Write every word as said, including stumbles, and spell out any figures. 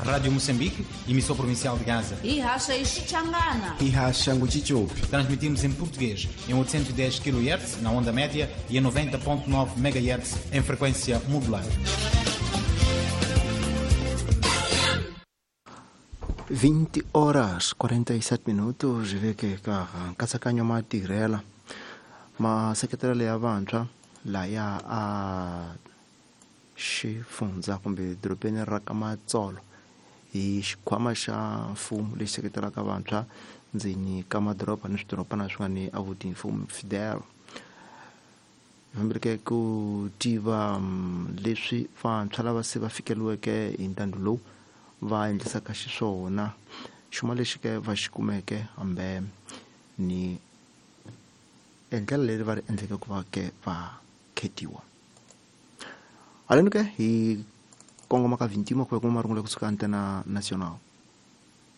Rádio Moçambique, emissão provincial de Gaza. Ihasha Ixichangana. Ihasha Nguchichopi. Transmitimos em português em oitocentos e dez quilohertz na onda média e em noventa ponto nove megahertz em frequência modular. vinte horas quarenta e sete minutos veke ka nkatsakanyo matirhela maseketelo ya vantshwa laya a xifundza kumbe dorobeni ra ka Matsolo hi xikhwama xa mfumo lexi seketelaka vantshwa ndzeni ka madoroba ni swidorobana swin'wana avuti mfumo Fidel fambeleke ku tiva leswi vantshwa lava se va fikeliweke hi ntando lowu va endlisaka xiswona xuma lexi ke va xi kumeke hambe ni endlela leri va ri endleke ku va ke va khetiwa haleni ke hi kongoma ka vintima ku ya kuma marungulo kusuka Antena Nacional.